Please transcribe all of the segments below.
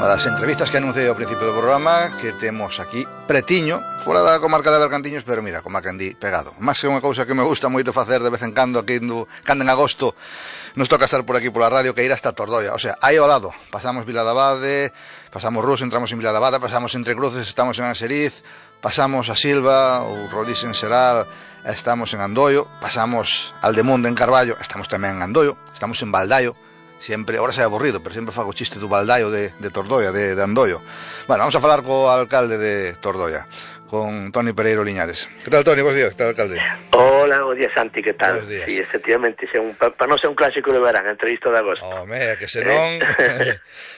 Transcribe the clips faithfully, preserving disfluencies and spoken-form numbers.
unha das entrevistas que anunciei ao principio do programa, que temos aquí pretiño, fora da comarca de Bergantiños, pero mira, como a Candí pegado. Máis que unha cousa que me gusta moito facer de vez en cando, aquí no, cando en agosto nos toca estar por aquí pola radio, que ir hasta Tordoia, o sea, aí ao lado, pasamos Vila de Abade, pasamos Rus, entramos en Vila de Abade, pasamos Entre Cruces, estamos en Anseriz, pasamos a Silva, ou Rolís en Seral, estamos en Andoio, pasamos Aldemunde en Carballo, estamos tamén en Andoio, estamos en Baldaio, sempre, ahora se é aburrido, pero sempre fago chiste do Baldaio de, de Tordoia, de, de Andoio. Bueno, vamos a falar co alcalde de Tordoia, con Toni Pereiro Liñares. Que tal, Toni? Bos días, que tal, alcalde? Hola, bos días, Santi, que tal? Bos días. Sí, efectivamente, para pa non ser un clásico de verán, entrevista de agosto. Home, que senón...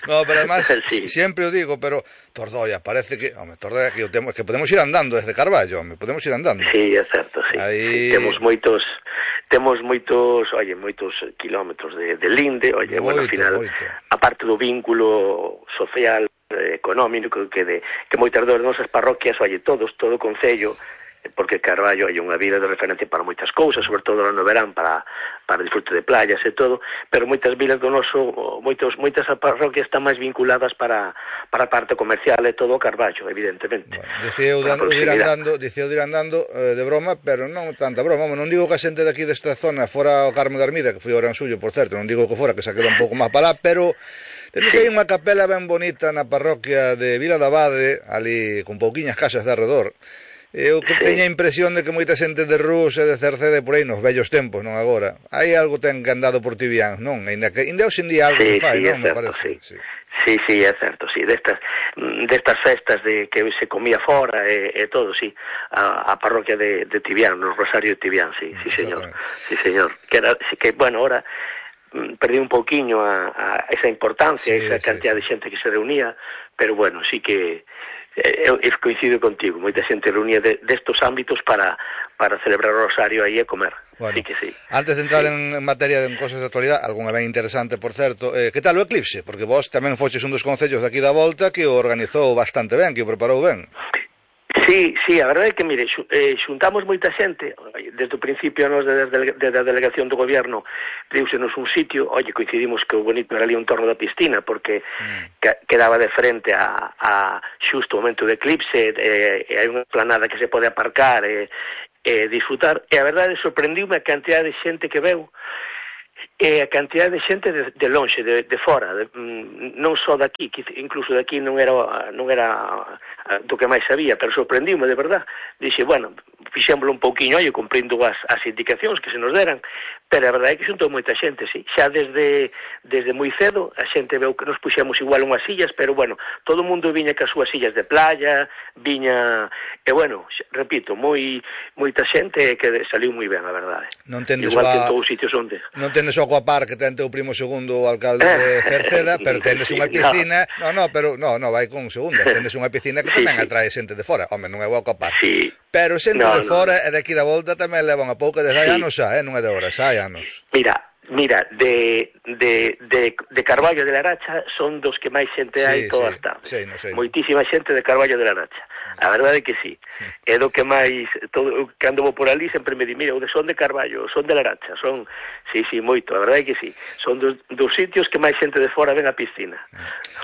no, pero además, sí. Sempre o digo, pero Tordoia, parece que... Home, Tordoia, que, temo, que podemos ir andando desde Carballo, home, podemos ir andando. Sí, é certo, sí. Aí... sí temos moitos... Temos moitos, oye, moitos kilómetros de, de linde, oye, moito, bueno, ao final, moito. A parte do vínculo social, eh, económico, que de que moitas das nosas parroquias, oye, todos, todo o concello, porque Carballo hai unha vila de referencia para moitas cousas, sobre todo no verán para para disfrute de playas e todo, pero moitas vilas do noso, moitos moitas parroquias están máis vinculadas para para a parte comercial e todo o Carballo, evidentemente. Bueno, dicía eu de ir andando, dicía eu de ir andando eh, de broma, pero non tanta broma, non digo que a xente de aquí desta zona fora o Carmo de Armida, que foi o gran suyo, por certo, non digo que fora, que se queda un pouco máis para lá, pero tenes aí unha capela ben bonita na parroquia de Vila de Abade, ali con pouquiñas casas de arredor. Eu que sí. Teña a impresión de que moita xente de Rus e de Cercede por aí nos vellos tempos, non agora. Hai algo ten que andado por Tibián, non? Ainda que ainda hoxe en día algo sí, que fai, sí, non? Me Certo, parece. Sí. sí, sí, é certo, sí. Destas, destas festas de que se comía fora e, e todo, sí. A, a parroquia de, de Tibián, no Rosario de Tibián, sí, sí, señor. Sí, señor. Que, era, sí, que bueno, ahora perdí un pouquiño a, a esa importancia, sí, esa cantidad sí, sí. de xente que se reunía, pero bueno, sí que eu, eu coincido contigo, moita xente reunía de, destos ámbitos para para celebrar o Rosario aí e comer. Bueno, sí que sí. Antes de entrar sí. en materia de cosas de actualidade, algunha ben interesante, por certo, eh, que tal o eclipse? Porque vos tamén foches un dos concellos de aquí da volta que o organizou bastante ben, que o preparou ben. Sí, sí, a verdade é que, mire, eh, xuntamos moita xente, desde o principio nos desde, desde a delegación do goberno, diúsenos un sitio, oye, coincidimos que o bonito era ali un torno da piscina, porque mm. que, quedaba de frente a, a xusto o momento de eclipse, e eh, hai unha planada que se pode aparcar e eh, eh, disfrutar, e a verdade sorprendiume a cantidad de xente que veu, e a cantidad de xente de, de lonxe, de, de fora, de, mm, non só daqui, que incluso daqui non era non era do que máis sabía, pero sorprendiume de verdad. Dixe, bueno, fixémoslo un pouquiño, oi, cumprindo as, as indicacións que se nos deran, pero a verdade é que xuntou moita xente, sí. Xa desde desde moi cedo, a xente veu que nos puxemos igual unhas sillas, pero bueno, todo o mundo viña cas súas sillas de playa, viña, e bueno, repito, moi moita xente que saliu moi ben, a verdade. Non tendes igual a... que en todos os sitios onde. Non tendes o Aquapar que ten teu primo segundo o alcalde de Cerceda, pero tendes unha piscina, no, no, pero no, no, vai con segunda, tendes unha piscina que tamén sí, atrae xente de fora, home, non é o Aquapar. Sí. Pero xente no, de fora no, no. e de aquí da volta tamén levan a pouco desde hai sí. anos xa, eh, non é de horas, hai anos. Mira, mira, de, de, de, de Carballo de la Aracha son dos que máis xente sí, hai todas sí, as tardes. Sí, no sei. Moitísima xente de Carballo de la Aracha. A verdade é que sí. É do que máis, todo, cando vou por ali sempre me di, mira, son de Carballo, son de la Aracha, son, sí, sí, moito, a verdade é que sí. Son dos, dos sitios que máis xente de fora ven a piscina.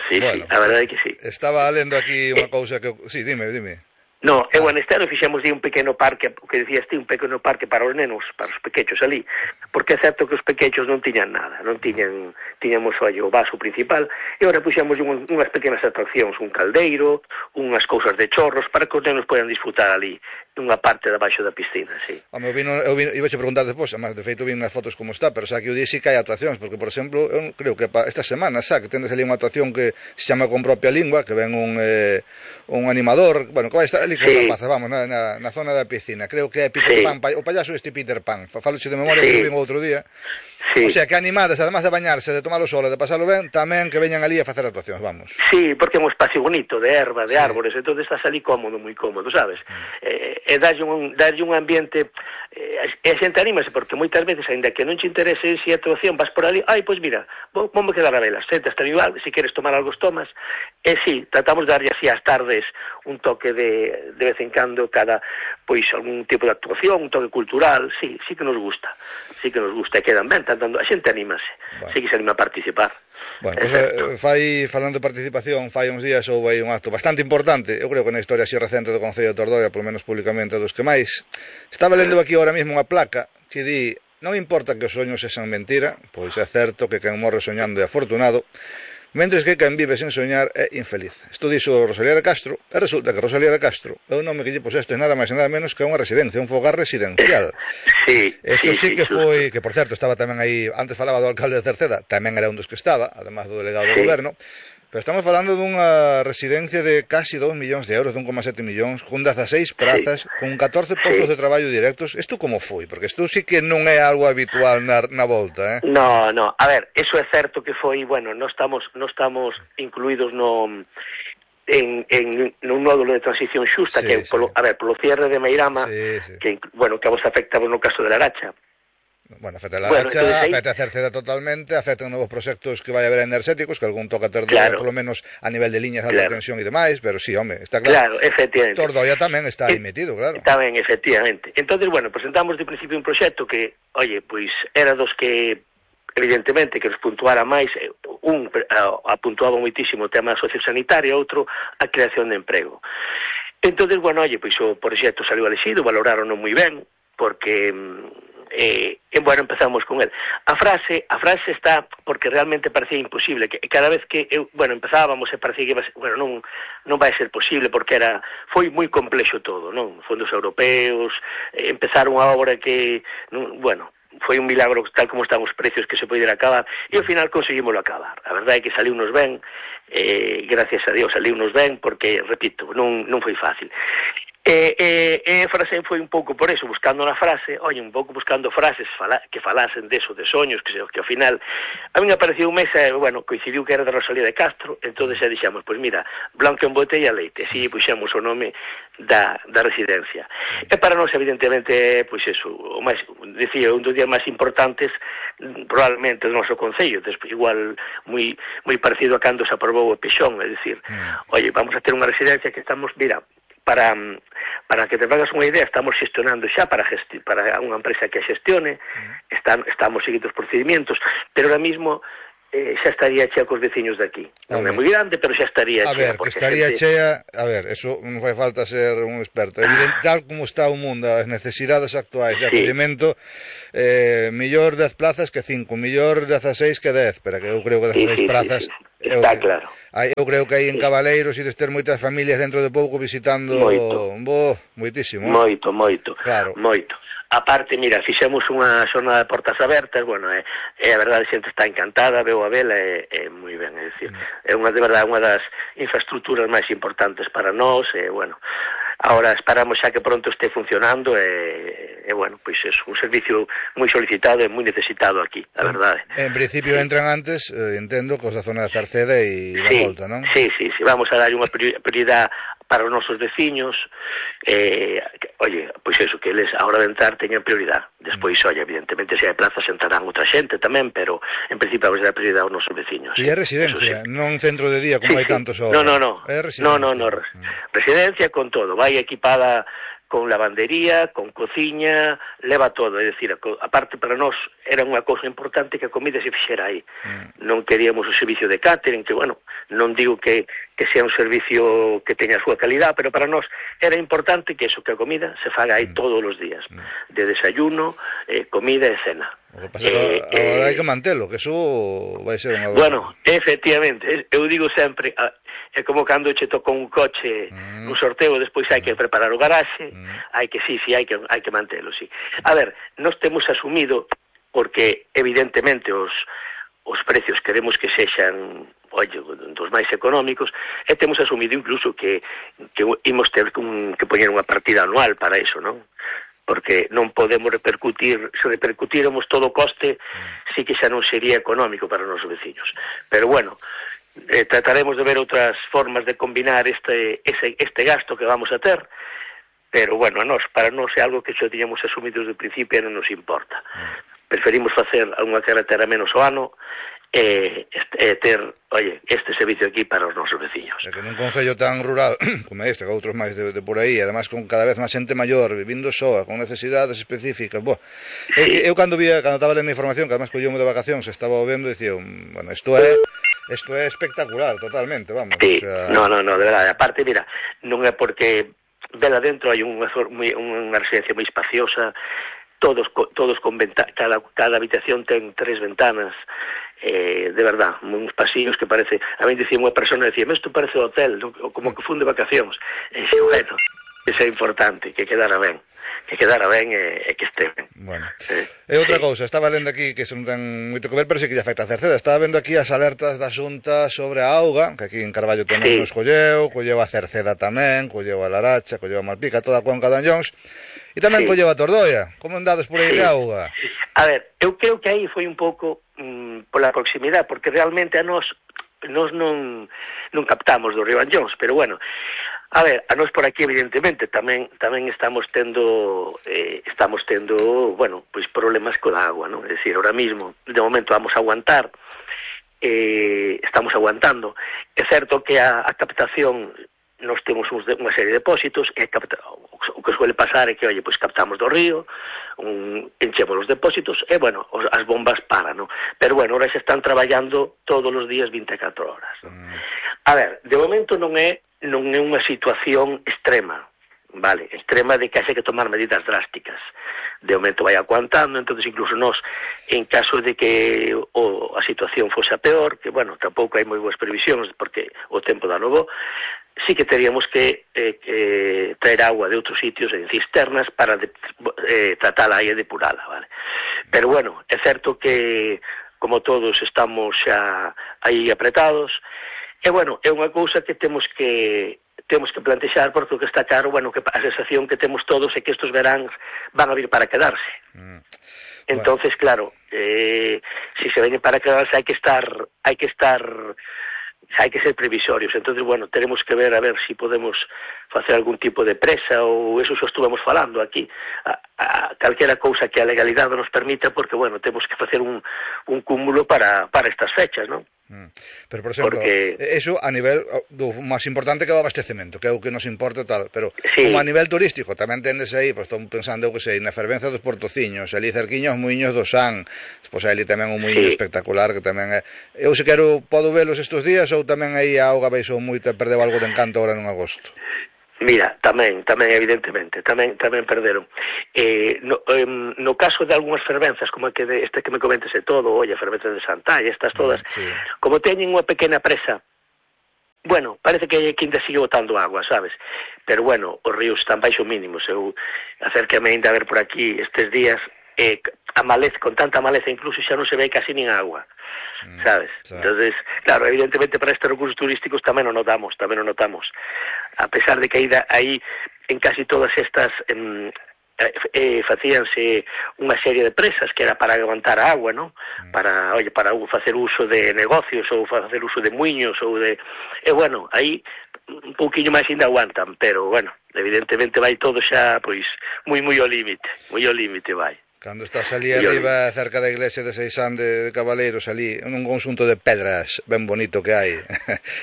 Sí, bueno, sí, a verdade é que sí. Estaba lendo aquí unha cousa que... Sí, dime, dime. No, eu en este ano fixemos de un pequeno parque, que decías ti, un pequeno parque para os nenos, para os pequechos ali, porque é certo que os pequechos non tiñan nada, non tiñan, tiñamos ollo, o vaso principal, e agora puxemos un, unhas pequenas atraccións, un caldeiro, unhas cousas de chorros, para que os nenos podan disfrutar ali, unha parte de baixo da piscina, sí. Home, eu vino, eu vino, iba a preguntar despois, además, de feito, vi unhas fotos como está, pero xa que eu dixi que hai atraccións, porque, por exemplo, eu creo que esta semana, xa, que tendes ali unha atracción que se chama con propia lingua, que ven un, eh, un animador, bueno, que vai estar ali con sí. rapazas, vamos, na, na, na zona da piscina, creo que é Peter sí. Pan, o payaso este Peter Pan, faloche de memoria, sí. que vin outro día, sí. O sea, que animadas, además de bañarse, de tomar o sol e de pasarlo ben, tamén que veñan ali a facer actuacións, vamos. Sí, porque é un espacio bonito, de erva, de sí. árbores, entón estás ali cómodo, moi cómodo, sabes? Mm. Eh, e dalle un, dalle un ambiente, eh, e a xente anímase, porque moitas veces, ainda que non te interese si a actuación, vas por ali, ai, pois mira, vou, vou me quedar a velas, senta, está igual, se queres tomar algo, tomas, e sí, tratamos de darlle así ás tardes un toque de, de vez en cando, cada, pois, algún tipo de actuación, un toque cultural, sí, sí que nos gusta, sí que nos gusta, e quedan ben, tanto, a xente anímase, bueno. Sí que se anima a participar. Bueno, pois pues, fai, falando de participación, fai uns días houve aí un acto bastante importante, eu creo que na historia así recente do Concello de Tordoia, polo menos públicamente dos que máis. Estaba lendo aquí ahora mesmo unha placa que di: non importa que os soños sexan mentira, pois é certo que quen morre soñando é afortunado, mentres que quen vive sen soñar é infeliz. Isto dixo Rosalía de Castro, e resulta que Rosalía de Castro é un nome que lle puseste nada máis e nada menos que unha residencia, un fogar residencial. Sí, Eso sí, sí, sí que sí, foi, que por certo estaba tamén aí, antes falaba do alcalde de Cerceda, tamén era un dos que estaba, además do delegado do sí. goberno, pero estamos falando dunha residencia de casi dous millóns de euros, de un coma sete millóns, con dezaseis prazas, sí, con catorce postos sí. de traballo directos. Isto como foi? Porque isto sí que non é algo habitual na, na volta, eh? No, no, a ver, eso é certo que foi, bueno, non estamos, non estamos incluídos no... en, en un nódulo de transición xusta, sí, que, sí. Polo, a ver, polo cierre de Meirama, sí, sí. que, bueno, que a vos afecta no caso de la Aracha. Bueno, afecta a la Aracha, bueno, ahí... afecta a Cerceda totalmente, afectan novos proxectos que vai haber enerxéticos, que algún toca Tordoia, claro. Polo menos a nivel de liñas de alta claro. tensión e demais, pero sí, home, está claro. Claro, efectivamente. Tordoia tamén está aí metido, claro. Tamén, efectivamente. Entonces, bueno, presentamos de principio un proxecto que, oye, pois, era dos que evidentemente que nos puntuara máis, un apuntuaba moitísimo o tema sociosanitario, outro a creación de emprego. Entonces, bueno, oye, pois o proxecto saliu elexido, valoraron moi ben, porque eh, eh, bueno, empezamos con el. A frase, a frase está porque realmente parecía imposible, que cada vez que eu, bueno, empezábamos e parecía que iba a ser, bueno, non non vai ser posible porque era foi moi complexo todo, non? Fondos europeos, eh, empezaron a obra que, non, bueno, foi un milagro tal como están os precios que se poidera acabar e ao final conseguimoslo acabar. A verdade é que saliu nos ben, eh, gracias a Dios saliu nos ben porque, repito, non, non foi fácil. E eh, eh, a frase foi un pouco por eso, buscando na frase, oye, un pouco buscando frases fala, que falasen deso, de soños, que, que ao final a mí me apareceu un mes, eh, bueno, coincidiu que era de Rosalía de Castro, entonces xa dixemos, pois mira, blanco en botella leite, así puxemos o nome da, da residencia. E para nós, evidentemente, pois eso, o máis, decía, un dos días máis importantes, probablemente do noso concello, despois igual moi moi parecido a cando se aprobou o Pexón, é dicir, oye, vamos a ter unha residencia que estamos, mira, para para que te fagas unha idea, estamos gestionando xa para gesti para unha empresa que a xestione, están, estamos seguindo os procedimentos, pero ahora mismo eh, xa estaría chea cos veciños de aquí. Non é moi grande, pero xa estaría a chea. A ver, que estaría gente... chea, a ver, eso non fai falta ser un experto. Evidente, tal como está o mundo, as necesidades actuais de sí. acollimento, eh, millor dez plazas que cinco, millor dezaseis que dez, pero que eu creo que dezaseis sí, sí, plazas... Sí, sí, sí. Está eu, claro. Eu creo que aí en Cabaleiros ides ter moitas familias dentro de pouco visitando... Moito. Bo, moitísimo. Moito, moito. Claro. Moito. A parte, mira, fixemos unha xornada de portas abertas, bueno, é, é a verdade, a xente está encantada, veo a vela, é, é moi ben, é dicir, mm. é unha de verdade unha das infraestructuras máis importantes para nós, e, bueno, ahora esperamos xa que pronto este funcionando, e, e bueno, pois é un servicio moi solicitado e moi necesitado aquí, a verdade. En, en principio sí. entran antes, eh, entendo, cos da zona de Cerceda e da sí, volta, non? Sí, sí, sí, vamos a dar unha prioridade para os nosos veciños, eh, oye, pois eso, que eles a hora de entrar teñan prioridade. Despois, mm. oye, evidentemente, se hai plazas entrarán outra xente tamén, pero en principio vamos a dar prioridade aos nosos veciños. E é residencia, sí. non centro de día como sí, hai sí. tantos ahora. No, no, no. É residencia. No, no, no. Mm. Residencia con todo, vai equipada con lavandería, con cociña, leva todo, é dicir, aparte para nós era unha cousa importante que a comida se fixera aí. Mm. Non queríamos o servicio de catering, que, bueno, non digo que, que sea un servicio que teña a súa calidad, pero para nós era importante que eso, que a comida se faga aí mm. todos os días, mm. de desayuno, eh, comida e cena. O que pasa eh, que agora eh, hai que mantelo, que eso vai ser unha... Bueno, efectivamente, eu digo sempre... A, é como cando che toca un coche mm. un sorteo, despois hai que preparar o garaxe, mm. hai que, sí, sí, hai que, hai que mantelo, sí. A ver, nós temos asumido, porque evidentemente os, os precios queremos que sexan, oye, dos máis económicos, e temos asumido incluso que, que imos ter un, que poñer unha partida anual para iso, non? Porque non podemos repercutir, se repercutíramos todo o coste, mm. sí que xa non sería económico para os nosos veciños. Pero bueno, Eh, trataremos de ver outras formas de combinar este, ese, este gasto que vamos a ter, pero bueno, a nos, para nós é algo que xa tiñamos asumido desde o principio e non nos importa. Preferimos facer unha carretera menos ao ano e, e ter, oye, este servicio aquí para os nosos veciños. É que nun concello tan rural como este, que outros máis de, de por aí, además con cada vez máis xente maior, vivindo soa, con necesidades específicas, bo, sí. eu, eu cando vía, cando estaba lendo información, que además collíamos de vacacións, estaba vendo, dicía, bueno, isto é isto é espectacular, totalmente, vamos. Sí, o sea... no, no, no, de verdade, aparte, mira, non é porque vela dentro hai unha, unha residencia moi espaciosa, todos todos con venta, cada, cada habitación ten tres ventanas, eh, de verdad, uns pasillos que parece, a mí dicía unha persona, decía, isto parece hotel, ¿no? Como que fun de vacacións, e xe, bueno, eso é importante, que quedara ben, que quedara ben e, e que este ben. Bueno, eh, e outra sí. cousa, estaba lendo aquí, que non ten moito que ver, pero sí que lle afecta a Cerceda, estaba vendo aquí as alertas da Xunta sobre a auga, que aquí en Carballo tamén sí. nos colleu, colleu a Cerceda tamén, colleu a Laracha, colleu a Malpica, toda a Cuenca de Anllóns, e tamén sí. colleu a Tordoia. Como andades por aí sí. de auga? A ver, eu creo que aí foi un pouco mm, pola proximidade, porque realmente a nós, nós non, non captamos do río Anllóns, pero bueno, a ver, a nós por aquí evidentemente tamén tamén estamos tendo eh, estamos tendo, bueno, pois problemas co agua, non? É dicir, ahora mismo, de momento vamos a aguantar, eh, estamos aguantando. É certo que a, a captación nós temos uns de, unha serie de depósitos e capta, o que suele pasar é que, oye, pois captamos do río, un, enchemos os depósitos e, bueno, os, as bombas paran, no? Pero, bueno, ahora se están traballando todos os días vinte e catro horas, no? Mm. A ver, de momento non é non é unha situación extrema, vale, extrema de que haxe que tomar medidas drásticas. De momento vai aguantando, entonces incluso nós, en caso de que o, a situación fose a peor, que, bueno, tampouco hai moi boas previsións, porque o tempo dá novo, sí que teríamos que, eh, que traer agua de outros sitios en cisternas para de, eh, tratala e depurala, vale? Pero bueno, é certo que como todos estamos xa aí apretados, e bueno, é unha cousa que temos que temos que plantexar, porque o que está claro, bueno, que a sensación que temos todos é que estes veráns van a vir para quedarse. Mm. Entonces, bueno, claro, eh, si se veñen para quedarse hai que estar hai que estar hai que ser previsorios. Entonces, bueno, tenemos que ver a ver si podemos facer algún tipo de presa, ou eso xa estuvemos falando aquí, a, a calquera cousa que a legalidade nos permita, porque, bueno, temos que facer un, un cúmulo para, para estas fechas, non? Mm. Pero, por exemplo, porque... eso a nivel do máis importante que é o abastecemento, que é o que nos importa tal, pero sí. como a nivel turístico tamén tendes aí, pois estou pensando, eu que sei, na fervenza dos Portociños, ali cerquiños os muiños do San, pois ali tamén un muiño sí. espectacular, que tamén é... Eu se quero, podo velos estes días, ou tamén aí a auga baixou moito e perdeu algo de encanto agora en agosto? Mira, tamén, tamén evidentemente, tamén tamén perderon. Eh, no, eh, no caso de algunhas fervenzas, como que de, este que me comentes e todo, oye, fervenzas de Santalla, estas todas, sí. como teñen unha pequena presa, bueno, parece que que ainda sigue botando agua, sabes? Pero bueno, os ríos están baixo mínimos. Eu acércame ainda a ver por aquí estes días, eh, a maleza, con tanta maleza, incluso xa non se ve casi nin agua. ¿Sabes? Sí. Entonces, claro, evidentemente para estes recursos turísticos tamén o notamos, tamén o notamos. A pesar de que aí, aí en casi todas estas eh, eh, facíanse unha serie de presas que era para aguantar a agua, ¿no? Mm. Para, oye, para facer uso de negocios ou facer uso de muiños ou de... E, bueno, aí un pouquiño máis ainda aguantan, pero, bueno, evidentemente vai todo xa, pois, moi, moi ao límite, moi ao límite vai. Cando estás ali arriba, cerca da iglesia de Seixán de, de Cabaleiros, ali, un conxunto de pedras ben bonito que hai,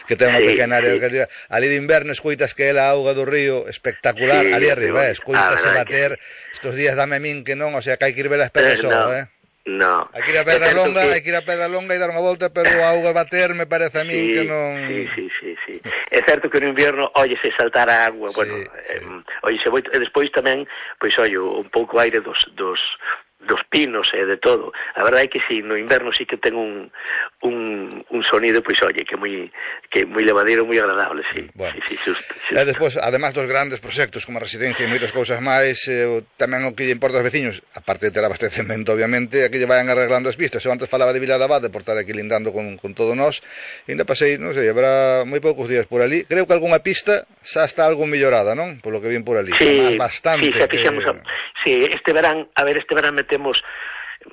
que ten unha sí, pequena área, sí. ali de inverno escoitas que é a auga do río, espectacular, sí, ali arriba, eh, escoitas ah, bater, que... estos días dame a min que non, o sea, que hai que ir ver as pedras só, no. eh. No. Hai que ir a Pedra Longa, que... hai que ir a Pedra Longa e dar unha volta, pero a auga bater me parece a min sí, que non... Sí, sí, sí, sí. É certo que no inverno, oye, se saltar a agua, sí, bueno, sí. Eh, oye, se voi, e despois tamén, pois, oye, un pouco aire dos, dos, dos pinos e eh, de todo. A verdade é que si, no inverno sí que ten un, un, un sonido, pois, oye, que moi que moi levadero, moi agradable, sí. Bueno. Sí, sí, xusto, xusto. E despois, además dos grandes proxectos como a residencia e moitas cousas máis, eh, tamén o que lle importa aos veciños, aparte de ter abastecemento, obviamente, aquí lle vayan arreglando as pistas. Eu antes falaba de Vila de Abade por estar aquí lindando con, con todo nós, e ainda pasei, non sei, habrá moi poucos días por ali. Creo que algunha pista xa está algo mellorada, non? Por lo que vin por ali. Sí, bastante. Sí, xa fixemos, que... sí, este verán, a ver, este verán metemos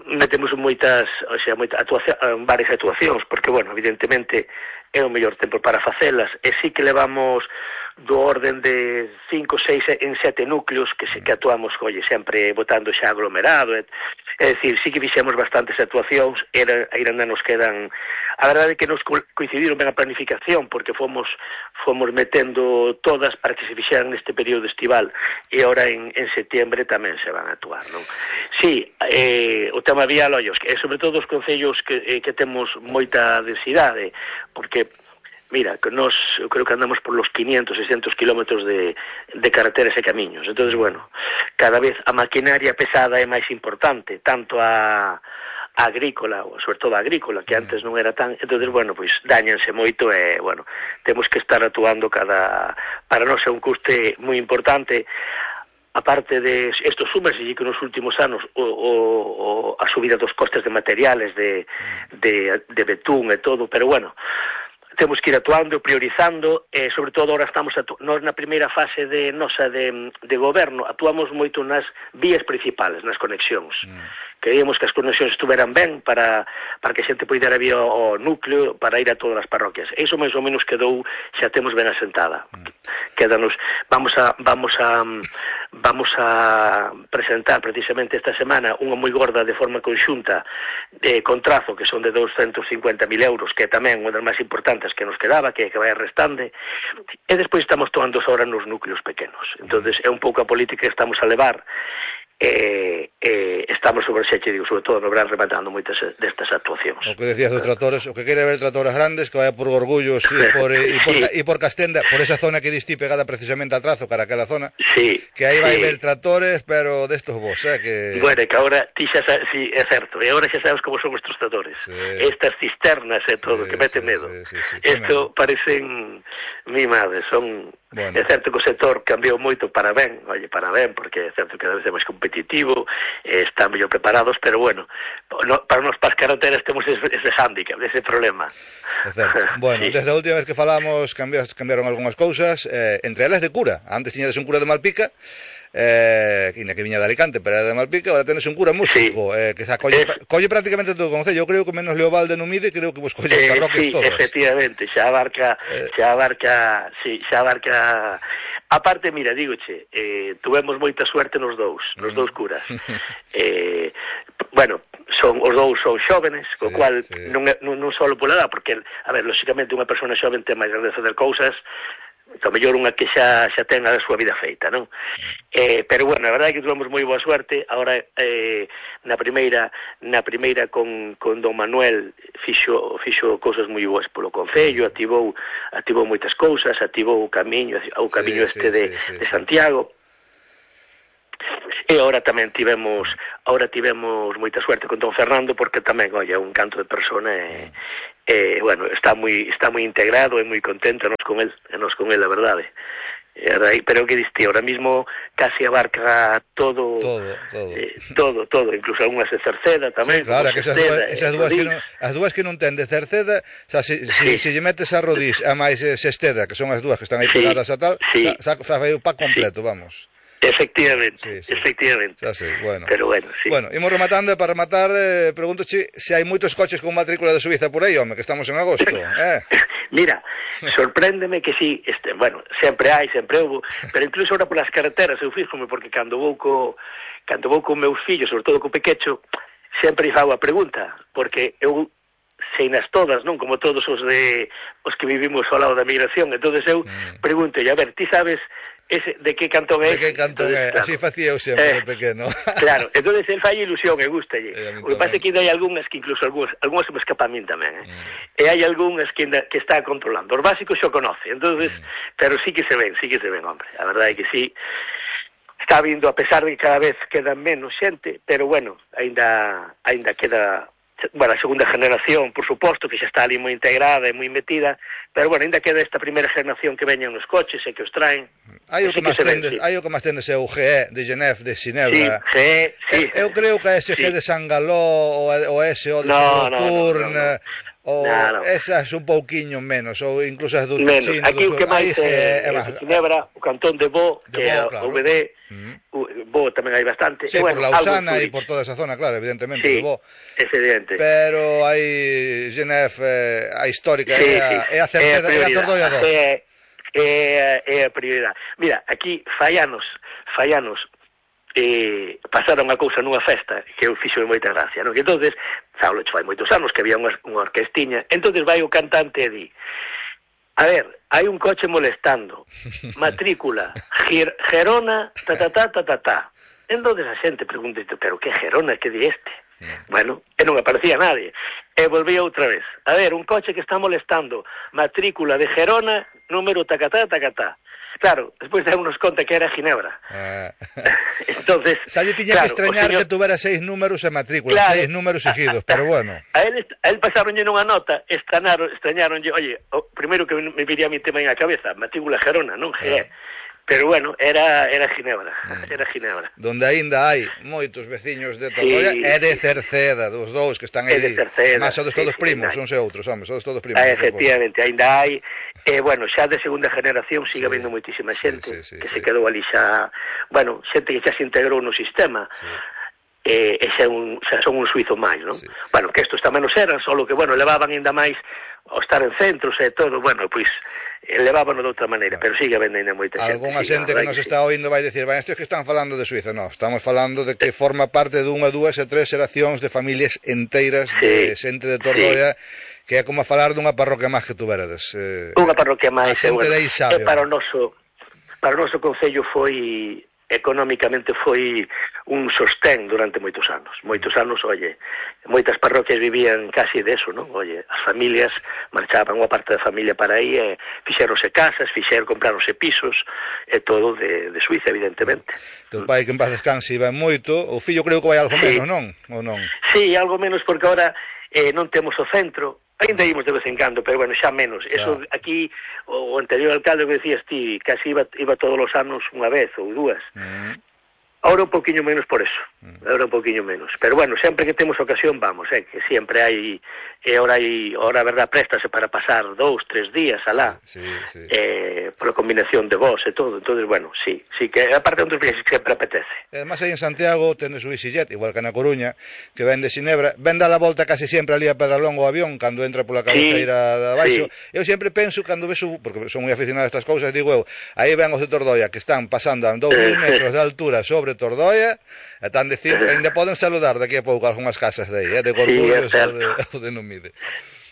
metemos moitas, o sea, moitas actuacións, varias actuacións, porque, bueno, evidentemente é o mellor tempo para facelas, e sí que levamos do orden de cinco, seis en sete núcleos que se que actuamos, oye, sempre botando xa aglomerado, é, é dicir, sí que fixemos bastantes actuacións, era, ainda nos quedan, a verdade é que nos coincidiron ben a planificación, porque fomos fomos metendo todas para que se fixeran neste período estival, e ahora en, en setiembre tamén se van a actuar, non? Sí, eh, o tema vial, ollos, que sobre todo os concellos que, eh, que temos moita densidade, porque mira, que nos, eu creo que andamos por los quinientos, seiscentos kilómetros de, de carreteras e camiños. Entonces, bueno, cada vez a maquinaria pesada é máis importante, tanto a, a agrícola, ou sobre todo a agrícola, que antes non era tan... Entonces, bueno, pois dañanse moito e, bueno, temos que estar actuando cada... Para nós é un custe moi importante. Aparte de isto, súmase que nos últimos anos o, o, o, a subida dos costes de materiales, de, de, de betún e todo, pero bueno... Temos que ir actuando, priorizando, e sobre todo ahora estamos atu- nós na primeira fase de nosa de, de goberno, actuamos moito nas vías principales, nas conexións. Mm. Queríamos que as conexións estuveran ben para, para que a xente poidera vir ao, ao núcleo para ir a todas as parroquias. Iso máis ou menos quedou, xa temos ben asentada. Mm. Quédanos, vamos a vamos a vamos a presentar precisamente esta semana unha moi gorda de forma conxunta de contrazo, que son de doscientos cincuenta mil euros, que é tamén unha das máis importantes que nos quedaba, que, que vai restande, e despois estamos tomando ahora nos núcleos pequenos. Entonces é un pouco a política que estamos a levar, e, e estamos sobre xe, digo, sobre todo no verán rematando moitas destas actuacións. O que decías dos tratores, o que quere ver tratores grandes, que vaya por Gorgullos e por, e por, sí. e por Castenda, por esa zona que distí pegada precisamente al trazo, cara aquela zona, sí, que aí vai sí. ver tratores, pero destos vos, eh, que... Bueno, que agora, ti xa sabes, sí, é certo, e agora xa sabes como son estes tratores, sí. Estas cisternas e todo, sí, que mete sí, medo. Sí, sí, sí, Esto sí, parecen mimades, son... Bueno. É certo que o sector cambiou moito para ben, oye, para ben, porque é certo que cada vez é máis competitivo, eh, están mellor preparados, pero bueno, no, para nos pas carreteras temos ese, ese hándicap, ese problema. É certo. Bueno, sí. Desde a última vez que falamos cambias, cambiaron algunhas cousas, eh, entre elas de cura. Antes tiñades un cura de Malpica, eh, que viña de Alicante, pero era de Malpica, ahora tenes un cura músico, sí. eh, que se colle, es... colle prácticamente todo o concello. Eu creo que menos Leobalde non mide, creo que vos colle eh, parroquias sí, todas. Sí, efectivamente, xa abarca, eh... xa abarca, sí, xa abarca... Aparte, mira, dígoche, eh, tuvemos moita suerte nos dous, nos mm. dous curas. eh, bueno, son os dous son xóvenes, co sí, cual sí. non, non, non só pola edad, porque, a ver, lógicamente unha persona xoven ten máis ganas de facer cousas, o mellor unha que xa, xa ten a súa vida feita, non? Eh, pero, bueno, a verdade é que tuvemos moi boa suerte. Agora, eh, na primeira na primeira con, con Don Manuel fixo, fixo cousas moi boas polo concello, activou activou moitas cousas, activou o camiño o camiño sí, este sí, de, sí, sí, de Santiago. E agora tamén tivemos agora tivemos moita suerte con Don Fernando, porque tamén, oye, un canto de persona e, e bueno, está moi está moi integrado e moi contento nos con el, e nos con el, a verdade. Pero que diste, ahora mismo casi abarca todo todo, todo, eh, todo, todo, incluso algunhas de Cerceda tamén. Sí, claro, que esas dúas, esas dúas que non, as dúas que non ten de Cerceda, o sea, se, sí. si, si lle metes a Rodís a máis Sesteda, que son as dúas que están aí sí, pegadas a tal, sí. xa fai o pack completo, sí. Vamos. Efectivamente, sí, sí. efectivamente. Xa sei, bueno. Pero bueno, sí. Bueno, imos rematando, e para rematar, eh, pregúntoche se hai moitos coches con matrícula de Suiza por aí, home, que estamos en agosto, eh? Mira, sorpréndeme que sí, este, bueno, sempre hai, sempre houve, pero incluso ahora polas carreteras eu fíxome, porque cando vou co cando vou con meus fillos, sobre todo co pequecho, sempre fago a pregunta, porque eu sei nas todas, non? Como todos os de os que vivimos ao lado da migración, entonces eu mm. pregunto, a ver, ti sabes ese, de que cantón é? De que cantón é, claro. Así facía eu sempre, eh, pequeno. Claro, entonces el fai ilusión e gustalle. O que pasa é que hai algunhas que incluso algunhas, algunhas se me escapan a min tamén, eh? Mm. E hai algunhas que, que está controlando. Os básicos xo conoce, entonces, mm. pero sí que se ven, sí que se ven, hombre. A verdade é que sí, está vindo, a pesar de que cada vez queda menos xente, pero bueno, ainda, ainda queda... Bueno, a segunda generación, por suposto, que xa está ali moi integrada e moi metida, pero bueno, ainda queda esta primeira generación que veñen nos coches e que os traen. Hai o que máis tendes, hai o que máis tendes é o G E de Genève, de Ginebra. Sí, G E, sí. Eu creo que a S G sí. de San Galó, o a S O de no, Saturn, no, no, no, no. ou no, no. esas un pouquiño menos, ou incluso as do menos. Ticino. Aquí o que máis é, é, é Ginebra, o cantón de Bo, de que é claro. o V D, uh-huh. Bo tamén hai bastante. Sí, e, bueno, por Lausana e por toda esa zona, claro, evidentemente, sí, de Bo. É evidente. Pero hai Genève, eh, a histórica, sí, é a, sí. é a Cerceda, é a Tordoia dos. é, é a prioridade. Mira, aquí fai anos, fai anos, eh, pasaron a cousa nunha festa que eu fixo moita gracia, non? Que entonces, Saulo, fai moitos anos que había unha, unha orquestiña, entonces vai o cantante e di, a ver, hai un coche molestando, matrícula, Gir, Gerona, ta ta ta ta ta ta. Entonces a xente pregunta, pero que Gerona, que di este? Bueno, e non aparecía nadie. E volví outra vez. A ver, un coche que está molestando, matrícula de Gerona, número tacatá, tacatá. Claro, despois de unos conta que era Ginebra. Ah. Entonces, xa lle tiña claro, que extrañar señor... que tuvera seis números e matrícula, claro, seis números seguidos, pero bueno. A él, a él pasaronlle nunha nota, extrañaron, extrañaronlle, oye, o primeiro que me viría a mi tema en a cabeza, matrícula Gerona, non G E. Ah. Pero bueno, era era Ginebra, mm. era Ginebra. Donde aínda hai moitos veciños de Tordoia sí, e de Cerceda, dos dous que están aí. De Cerceda. Mas sodes todos sí, primos, sí, uns e outros, homens, sodes todos primos. Ah, efectivamente, aínda hai, e eh, bueno, xa de segunda generación sigue sí, habendo moitísima xente sí, sí, sí, que sí. se quedou ali xa, bueno, xente que xa se integrou no sistema. Sí. E, e xa, un, xa son un suizo máis, non? Sí. Bueno, que estos tamén nos eran, solo que, bueno, levaban ainda máis ao estar en centros e todo, bueno, pois levábano de outra maneira, claro. Pero sigue habendo ainda moita xente. Algúnha xente que nos está oindo vai dicir, vai, estes que están falando de Suiza, non, estamos falando de que forma parte dunha, dúas e tres xeracións de familias enteiras sí. de xente de Tordoia, sí. que é como a falar dunha parroquia máis que tuverades. Eh, unha parroquia máis, a xente bueno, de aí sabe. E para o noso, para o noso concello foi... económicamente foi un sostén durante moitos anos. Moitos anos, oye, moitas parroquias vivían casi de eso, non? Oye, as familias marchaban unha parte da familia para aí e fixeronse casas, fixeron, compraronse pisos e todo de, de Suiza, evidentemente. Teu pai que en paz descanse iba moito, o fillo creo que vai algo sí. menos, non? Ou non? Sí, algo menos porque agora eh, non temos o centro. Ainda ímos de vez en cando, pero bueno, xa menos. Eso claro. Aquí, o anterior alcalde que decías ti, casi iba, iba todos os anos unha vez ou dúas. Mm. Ahora un poquinho menos por eso. Mm. Ahora un poquinho menos. Pero bueno, sempre que temos ocasión vamos, eh, que sempre hai, e ahora hai, ahora a verdad, préstase para pasar dous, tres días alá, sí, sí. Eh, por a combinación de vos e todo. Entonces, bueno, sí, sí que aparte de outros viajes que sempre apetece. E además aí en Santiago tenes o EasyJet, igual que na Coruña, que ven de Ginebra, ven da la volta casi sempre ali a Pedralonga o avión, cando entra pola cabeceira sí, de abaixo. Sí. Eu sempre penso, cando vexo, porque son moi aficionado a estas cousas, digo eu, aí ven os de Tordoia, que están pasando a dous mil metros de altura sobre Tordoia, e tan decir, ainda poden saludar daqui a pouco algunhas casas de aí, eh, de Gorgullos sí, ou de, ou de Numide.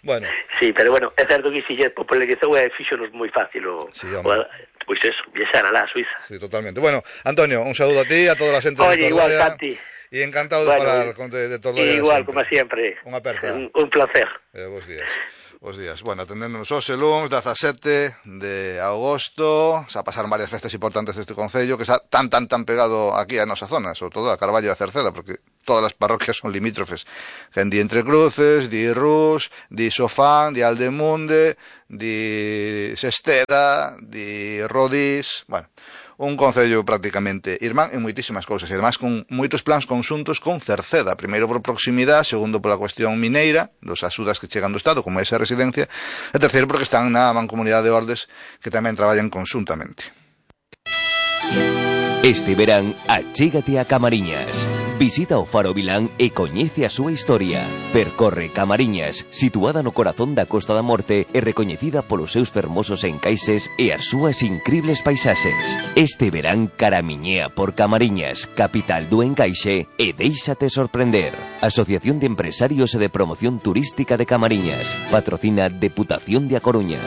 Bueno. Sí, pero bueno, é certo que EasyJet popularizou e fixonos moi fácil o, sí, o pois eso, viaxar alá a Suiza. Sí, totalmente. Bueno, Antonio, un saúdo a ti, a toda a xente de Tordoia. Oye, igual, Santi. E encantado de bueno, falar con de, de Tordoia. Igual, como sempre. Unha aperta. Un, un placer. Eh, bons días. Os días. Bueno, atendéndonos hoxe luns, dezasete de agosto, xa pasaron varias festas importantes deste concello, que xa tan, tan, tan pegado aquí a nosa zona, sobre todo a Carballo e a Cerceda, porque todas as parroquias son limítrofes. Gen di Entre Cruces, di Rus, di Sofán, di Aldemunde, di Sesteda, di Rodís, bueno... un concello prácticamente irmán en moitísimas cousas, e además con moitos plans conxuntos con Cerceda, primeiro por proximidade, segundo pola cuestión mineira, dos axudas que chegan do Estado, como esa residencia, e terceiro porque están na mancomunidade de Ordes, que tamén traballan conxuntamente. Este verán, achégate a Camariñas. Visita o Faro Vilán e coñece a súa historia. Percorre Camariñas, situada no corazón da Costa da Morte e recoñecida polos seus fermosos encaixes e as súas incribles paisaxes. Este verán caramiñea por Camariñas, capital do encaixe, e déixate sorprender. Asociación de Empresarios e de Promoción Turística de Camariñas. Patrocina Deputación de A Coruña.